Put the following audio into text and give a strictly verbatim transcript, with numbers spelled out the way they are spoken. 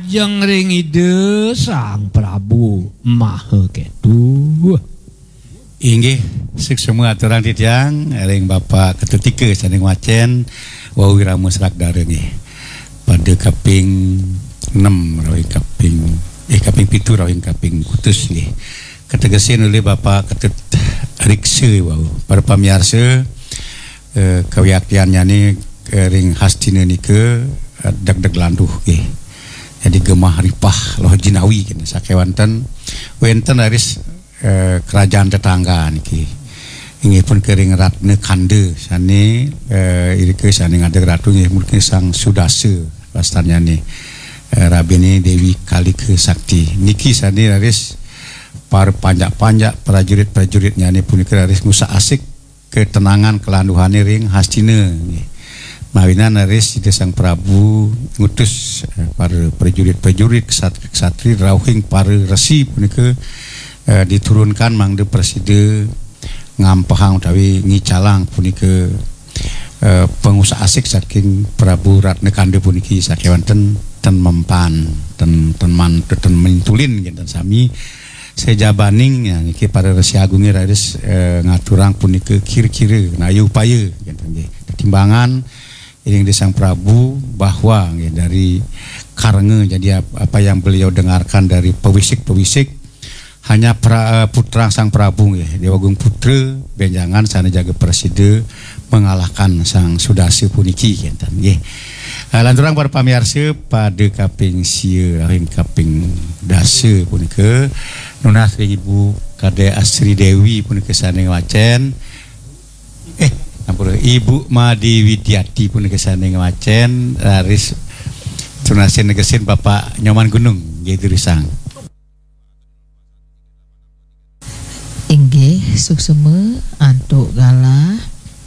Jeng ring Ida Sang Prabu Maha Ketu. Inggih, suksma aturang titiang ring Bapak Ketutika sané ngwacén wau Wirama Serak Dara nggih. Pada kaping enam rawing kaping, eh, kaping pitu rawing kaping kutus nggih. Kategesin olih Bapak Ketut Riksa wau. Para pamiarsa, eh, kawiaktiannyané, eh, ring Hastina nika, eh, degdeg landuh nggih. Jadi gemah ripah loh jinawi kena sakéwanten wénten raris, eh, kerajaan tetangga niki. Inggih punika ring Ratna Kanda sané, eh, irika sané ngadeg ratu inggih punika Sang Sudasa wastannyané, eh, rabiné Déwi Kalika Sakti. Niki sané raris para panjak-panjak prajurit-prajuritnyané punika raris ngusak-asik ketenangan kelanduhané ring Hastina nggih. Mawinan raris Ida Sang Prabu ngutus, eh, para prajurit-prajurit, ksat-, ksatri rauhing para resi punika, eh, diturunkan mangda prasida ngampehang utawi ngicalang punika, eh, pangusak-asik saking Prabu Ratna Kanda puniki sakéwanten ten mempan, ten, ten man-, ten mintulin kinten sami. Sajabaning, ya, niki para Resi Agungé raris, eh, ngaturang punika kira-kira naya upaya kinten nggih. Tetimbangan ring Ida Sang Prabu bahwa nggih dari karena jadi ap-, apa yang beliau dengarkan dari pewisik-pewisik hanya pra-, eh, putra Sang Prabu nggih, Déwa Agung Putra, bénjangan sané jaga prasida mengalahkan Sang Sudasa puniki kinten nggih. Eh, lanturang para pamiarsa pada kaping sia ring kaping dasa punika nunas ring Ibu Kadek Asri Déwi punika sané ngwacén. Eh, ampun, Ibu Made Widiati punika sané ngwacén, raris tunasin negesin Bapak Nyoman Gunung nggih durusang. Inggih, suksma antuk galah